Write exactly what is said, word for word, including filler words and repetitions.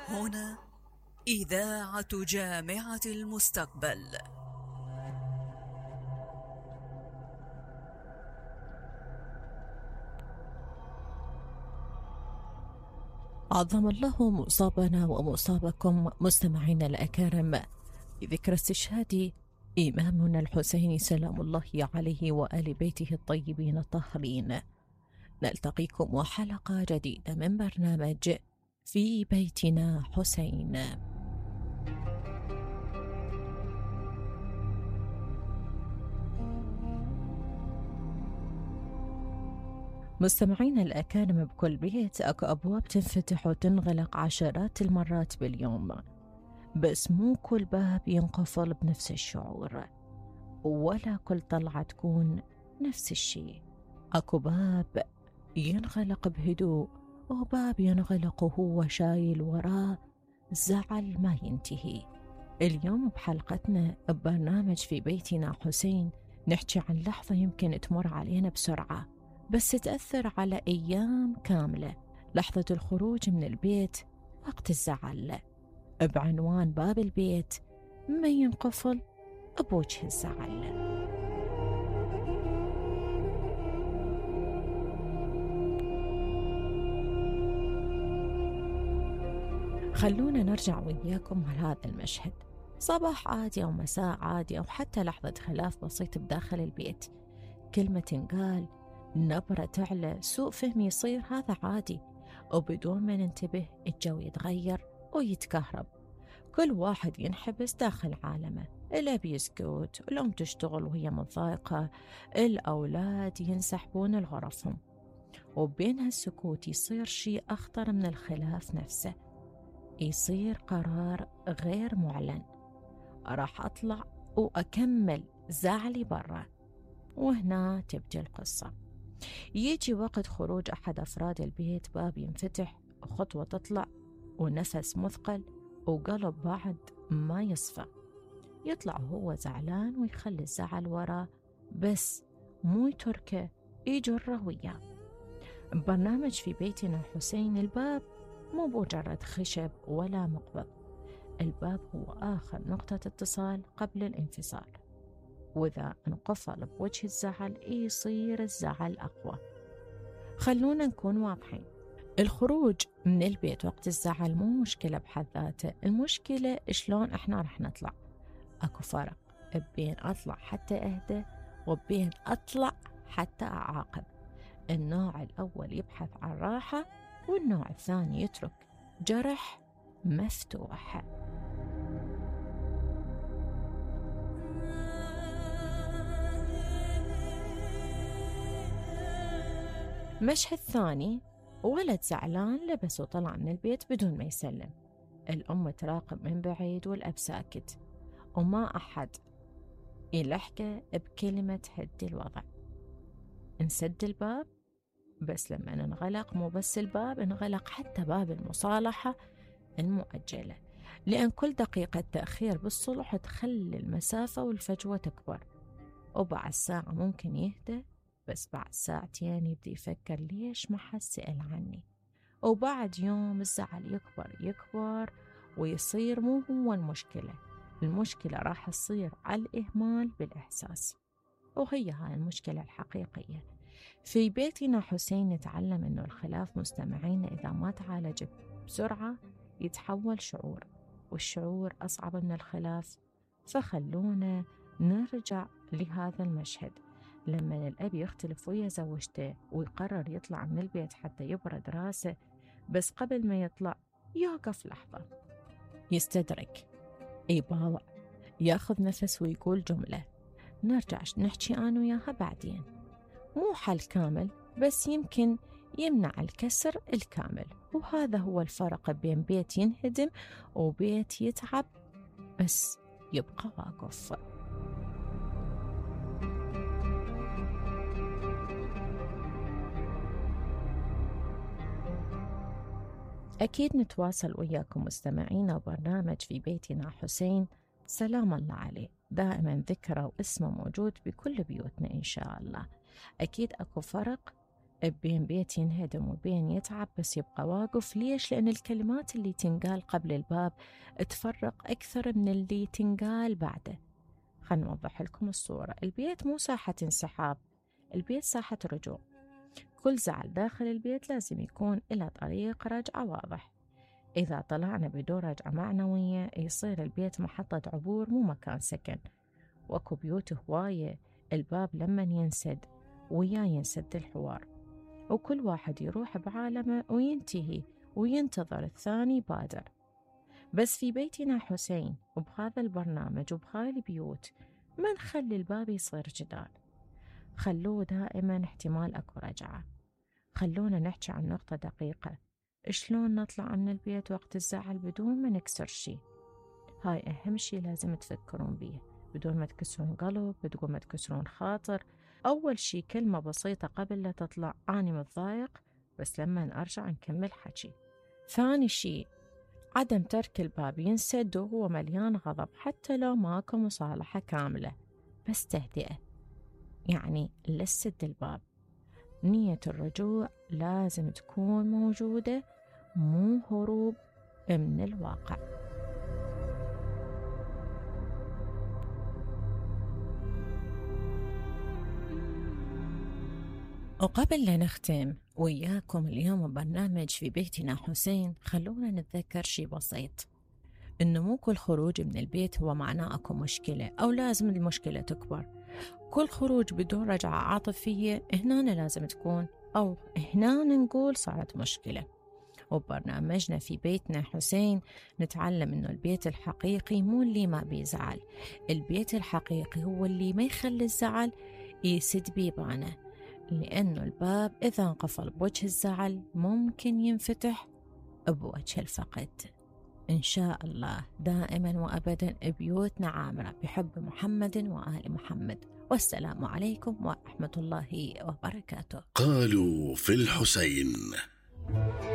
هنا إذاعة جامعة المستقبل. عظم الله مصابنا ومصابكم مستمعينا الأكارم بذكرى استشهاد إمامنا الحسين سلام الله عليه وآل بيته الطيبين الطاهرين. نلتقيكم وحلقة جديدة من برنامج في بيتنا حسين. مستمعينا الأكارم، بكل بيت أكو أبواب تنفتح وتنغلق عشرات المرات باليوم، بس مو كل باب ينقفل بنفس الشعور، ولا كل طلعة تكون نفس الشيء. أكو باب ينغلق بهدوء، وباب ينغلق وهو شايل وراه زعل ما ينتهي. اليوم بحلقتنا ببرنامج في بيتنا حسين نحكي عن لحظة يمكن تمر علينا بسرعة بس تأثر على أيام كاملة، لحظة الخروج من البيت وقت الزعل، بعنوان باب البيت ما ينقفل بوجه الزعل. خلونا نرجع وياكم لهذا المشهد، صباح عادي أو مساء عادي أو حتى لحظة خلاف بسيط بداخل البيت، كلمة تنقال، نبرة تعلى، سوء فهم يصير، هذا عادي، وبدون ما ننتبه الجو يتغير ويتكهرب، كل واحد ينحبس داخل عالمه، الأب يسكت، الأم تشتغل وهي متضايقة، الأولاد ينسحبون لغرفهم، وبين هالسكوت يصير شيء أخطر من الخلاف نفسه، يصير قرار غير معلن، راح أطلع وأكمل زعلي برا. وهنا تبدي القصة. يجي وقت خروج أحد أفراد البيت، باب ينفتح وخطوة تطلع ونفس مثقل وقلب بعد ما يصفى، يطلع وهو زعلان ويخلي الزعل وراه، بس مو يتركه، يجره وياه. برنامج في بيتنا حسين، الباب مو مجرد خشب ولا مقبض، الباب هو آخر نقطة اتصال قبل الانفصال، وإذا انقفل بوجه الزعل يصير الزعل أقوى. خلونا نكون واضحين، الخروج من البيت وقت الزعل مو مشكلة بحد ذاته، المشكلة شلون احنا رح نطلع. اكو فرق بين اطلع حتى اهدى وبين اطلع حتى اعاقب. النوع الاول يبحث عن راحة، والنوع الثاني يترك جرح مفتوح. مشهد ثاني، ولد زعلان لبس وطلع من البيت بدون ما يسلم، الأم تراقب من بعيد والأب ساكت، وما أحد يلحقه بكلمة هدي الوضع. نسد الباب، بس لما ننغلق مو بس الباب، انغلق حتى باب المصالحة المؤجلة، لأن كل دقيقة تأخير بالصلح تخلي المسافة والفجوة تكبر، وبعد ساعة ممكن يهدى، بس بعد ساعتين يبدأ يفكر ليش ما حد سأل عني، وبعد يوم الزعل يكبر يكبر ويصير مو هو المشكلة، المشكلة راح تصير على الإهمال بالإحساس، وهي هاي المشكلة الحقيقية. في بيتنا حسين نتعلم إنه الخلاف مستمعين إذا ما تعالج بسرعة يتحول شعور، والشعور أصعب من الخلاف. فخلونا نرجع لهذا المشهد، لما الأب يختلف ويا زوجته ويقرر يطلع من البيت حتى يبرد راسه، بس قبل ما يطلع يوقف لحظة، يستدرك، يباوع، ياخذ نفس ويقول جملة، نرجع نحكي أنا وياها بعدين. مو حل كامل، بس يمكن يمنع الكسر الكامل، وهذا هو الفرق بين بيت ينهدم وبيت يتعب بس يبقى واقف. أكيد نتواصل وياكم مستمعينا، وبرنامج في بيتنا حسين سلام الله عليه دائما ذكره واسمه موجود بكل بيوتنا إن شاء الله. أكيد أكو فرق بين بيت ينهدم وبين يتعب بس يبقى واقف. ليش؟ لأن الكلمات اللي تنقال قبل الباب تفرق أكثر من اللي تنقال بعده. خلنا نوضح لكم الصورة. البيت مو ساحة انسحاب، البيت ساحة رجوع. كل زعل داخل البيت لازم يكون إلى طريق رجعة واضح. إذا طلعنا بدون رجعة معنوية يصير البيت محطة عبور مو مكان سكن. وأكو بيوت هواية الباب لما ينسد ويا ينسد الحوار، وكل واحد يروح بعالمه وينتهي وينتظر الثاني بادر. بس في بيتنا حسين وبهذا البرنامج وبهاي البيوت ما نخلي الباب يصير جدار، خلوه دائما احتمال أكو رجعة. خلونا نحكي عن نقطة دقيقة، شلون نطلع من البيت وقت الزعل بدون ما نكسر شي. هاي أهم شي لازم تفكرون بيه، بدون ما تكسرون قلب، بدون ما تكسرون خاطر. أول شي كلمة بسيطة قبل لا تطلع، أنا متضايق بس لما أرجع نكمل حكي. ثاني شي عدم ترك الباب ينسد وهو مليان غضب، حتى لو ماكو مصالحة كاملة بس تهدئة. يعني لا تسد الباب، نية الرجوع لازم تكون موجودة، مو هروب من الواقع. وقبل لا نختم وياكم اليوم برنامج في بيتنا حسين، خلونا نتذكر شي بسيط، إنه مو كل خروج من البيت هو معناه أكو مشكلة أو لازم المشكلة تكبر. كل خروج بدون رجعة عاطفية هنا لازم تكون، أو هنا نقول صارت مشكلة. وبرنامجنا في بيتنا حسين نتعلم إنه البيت الحقيقي مو اللي ما بيزعل، البيت الحقيقي هو اللي ما يخلي الزعل يسد بيبانه، لأنه الباب إذا انقفل بوجه الزعل ممكن ينفتح بوجه الفقد. إن شاء الله دائما وأبدا بيوتنا عامرة بحب محمد وآل محمد، والسلام عليكم ورحمة الله وبركاته. قالوا في الحسين.